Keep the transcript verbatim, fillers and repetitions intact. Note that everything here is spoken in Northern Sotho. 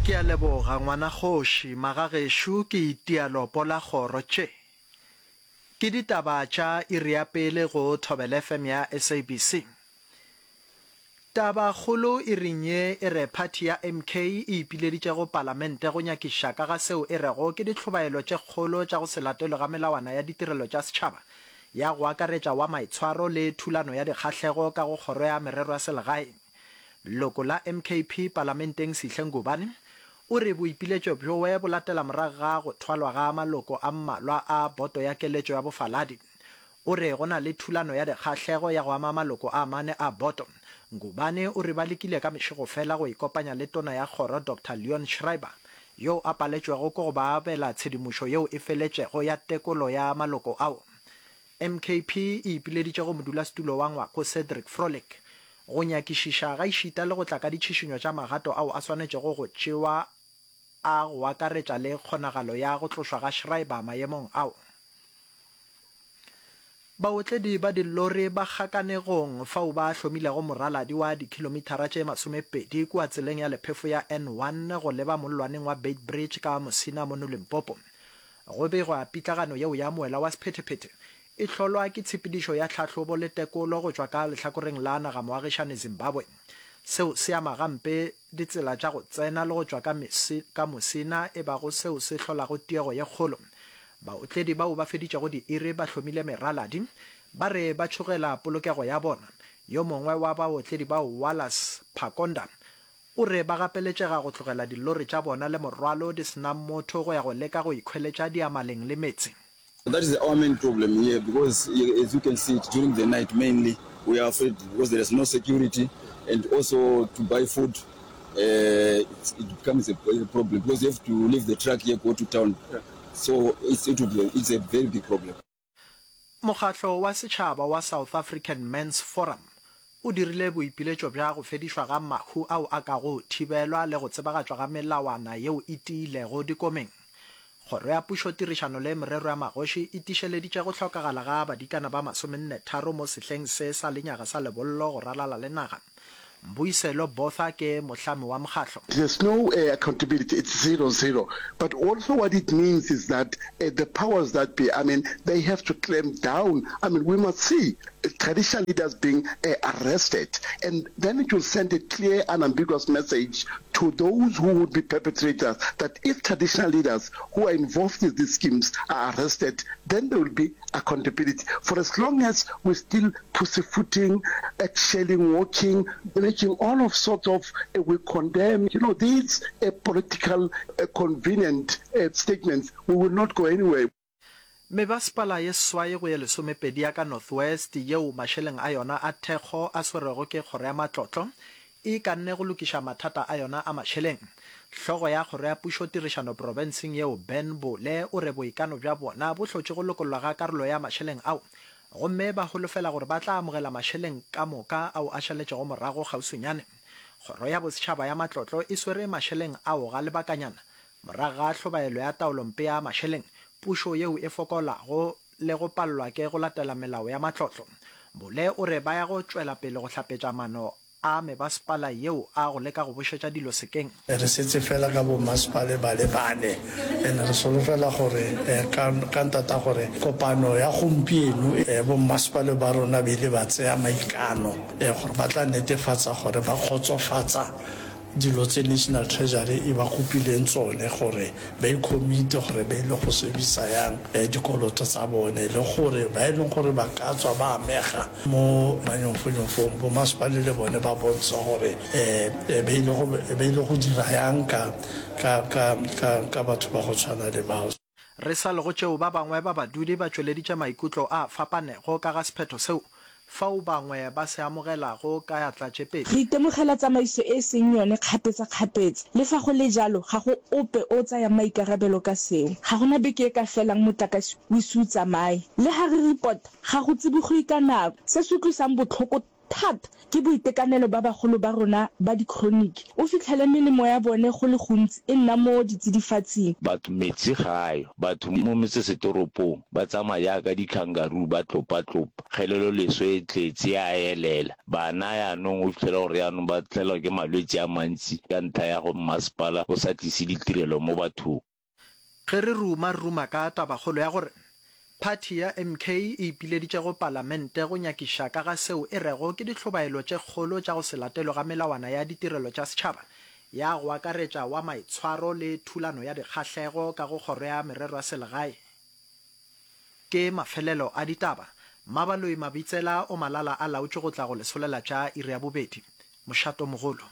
Ke a leboga ngwanakgoši, magagešo ke itia lopo la kgoro tše. Ke ditaba tša iri ya pele go Thobela F M ya S A B C. Tabakgolo iring ye e re phathi ya M K e ipileditše go palamente go nyakišiša ka ga seo e rego ke ditlhobaelo tše kgolo tša go se latelwe ga melawana ya ditirelo tša setšhaba ya go akaretša wa maitshwaro le thulano ya dikgahlego ka go kgoro ya merero ya selegae. Leloko la M K P palamenteng Sihle Ngubane o re boipiletšo bjowe bo latela morago ga go thwalwa ga maloko a mmalwa a boto ya keletšo ya bofaladi. O re go na le thulano ya dikgahlego ya go ama maloko a mane a boto. Ngubane o re ba lekile ka mešego fela go ikopanya le tona ya kgoro Doctor Leon Schreiber yo a paletšwego ke go ba abela tshedimošo yeo e feletšego ya tekolo ya maloko ao. M K P e ipileditše go modulasetulo wa ngwako Cedric Frolick go nyakišiša gaešita le go tla ka ditšhišinyo tša magato ao a swanetšego go tšewa a go akaretša le kgonagalo ya go tlošwa ga Schreiber maemong ao. Baotledi ba dillori ba kgakanegong fao ba hlomilego moraladi wa dikhilomithara tše masomepedi kua tseleng ya lephefo ya N one go leba mollwaneng wa Beitbridge ka Musina mono Limpopo. Go begwa pitlagano yeo ya moela wa sephethephethe e hlolwa ke tshepedišo ya tlhahlobo le tekolo go tšwa ka lehlakoreng la naga moagišane Zimbabwe. Seo se ama gampe ditsela tša go tsena le go tšwa ka, ka Musina e bago seo se hlolago tiego ye kgolo. Baotledi bao ba feditšego diiri ba hlomile meraladi ba re ba tšhogela polokego ya bona. Yo mongwe wa baotledi bao, Wallace Phakonda, o re ba gapeletšega go tlogela dillori tša bona le morwalo di se na motho go ya go leka go ikhweletša diamaleng le meetse. That is our main problem here because, as you can see, during the night mainly we are afraid because there is no security, and also to buy food uh, it, it becomes a, a problem because you have to leave the truck here, go to town. So it's, it will be, it's a very big problem. Mokgatlo wa setšhaba wa South African Men's Forum o dirile boipiletšo bja go fedišwa ga mahu ao a kago thibelwa le go tsebagatšwa ga melawana yeo e tiilego dikomeng. Kgoro ya pušo tirišano le merero ya magoši e tišeleditše go hlokagala ga badikana ba masomenne tharo mo sehleng se sa lenyaga sa lebollo go ralala le naga. Mbuyiselo Botha ke mohlami wa mokgatlo. There's no uh, accountability, it's zero zero. But also what it means is that uh, the powers that be, I mean, they have to clamp down. I mean, we must see traditional leaders being uh, arrested. And then it will send a clear, unambiguous message to those who would be perpetrators that if traditional leaders who are involved in these schemes are arrested, then there will be accountability. For as long as we're still pussyfooting, eggshelling, walking, making all of sorts of, uh, we condemn, you know, these uh, political uh, convenient uh, statements, we will not go anywhere. Mebasepala ye seswai go ye lesomepedi ya ka North West yeo mašeleng a yona a thekgo a swerwego ke kgoro ya matlotlo e ikanne go lokiša mathata a yona a mašeleng. Hlogo ya kgoro ya pušo tirišano profenseng yeo Ben Bole o re boikano bja bona bo hlotše go lokollwa ga karolo ya mašeleng ao gomme ba holofela gore ba tla amogela mašeleng ka moka ao a šaletšego morago kgauswinyane. Kgoro ya bosetšhaba ya matlotlo e swere mašeleng ao ga lebakanyana morago ga hlobaelo ya taolompe ya mašeleng, pušo yeo e fokolago le go palelwa ke go latela melao ya matlotlo. Bole o re ba ya go tšwela pele go hlapetša mano a mebasepala yeo a go leka go bušetša dilo sekeng. Re setse fela ka bommasepale ba le bane, and re solofela gore ka ka ntata gore kopano ya gompieno bommasepale ba rona ba ile ba tseya maikano gore ba tla netefatsa gore ba kgotsofatsa dilo tse National Treasury e ba kopileng tsone gore ba i-commit-e gore ba ile go servisa yang dikoloto tsa bone, le gore ba e leng gore ba ka tswa ba amega mo manyofonyofong, bommasepale le bone ba bontsha gore um ba ile go dira yang ka ka ka ka ka batho ba go tshwana le bao. Re sa le go tšeo, ba bangwe ba badudi ba tšweleditše maikutlo a fapanego ka ga sephetho seo fao bangwe ba se amogelago ka atla tše pedi. Re itemogela tsamaiso e e seng yone kgapetsa-kgapetsa. Le fa go le jalo, ga go ope o tsayang maikarabelo ka seo. Ga gona beke e ka felang motlakase o ise o tsamaye. Le ha re report, ga go tsibogwe ka nako. Se se utlwisang botlhoko thata ke boitekanelo ba bagolo ba rona ba dikhroniki. O fihlele melemo ya bone go le gontsi e nna mo ditsidifatsing. Batho metsi ga a yo. Batho mo metsesetoropong ba tsamaya jaaka di-kangaroo ba tlopa-tlopa. Kgeleloleswe e tletse e a elela. Bana yaanong o fitlhela gore yaanong ba tlelwa ke malwetsi a mantsi ka ntlha ya go mmasepala o sa tlise ditirelo mo bathong. Ge re ruma re ruma ka tabakgolo ya gore phathi ya M K e ipileditše go palamente go nyakiša ka ga seo e rego ke dihlobaelo tše kgolo tša go se latelwe ga melawana ya ditirelo tša setšhaba ya go akaretša wa maitshwaro le thulano ya dikgahlego ka go Kgoro ya Merero ya Selegae. Ke mafelelo a ditaba. Mmabaloi Mabitsela o malala a laotšwe go tla go le solela tša iri ya bobedi. Mošato mogolo.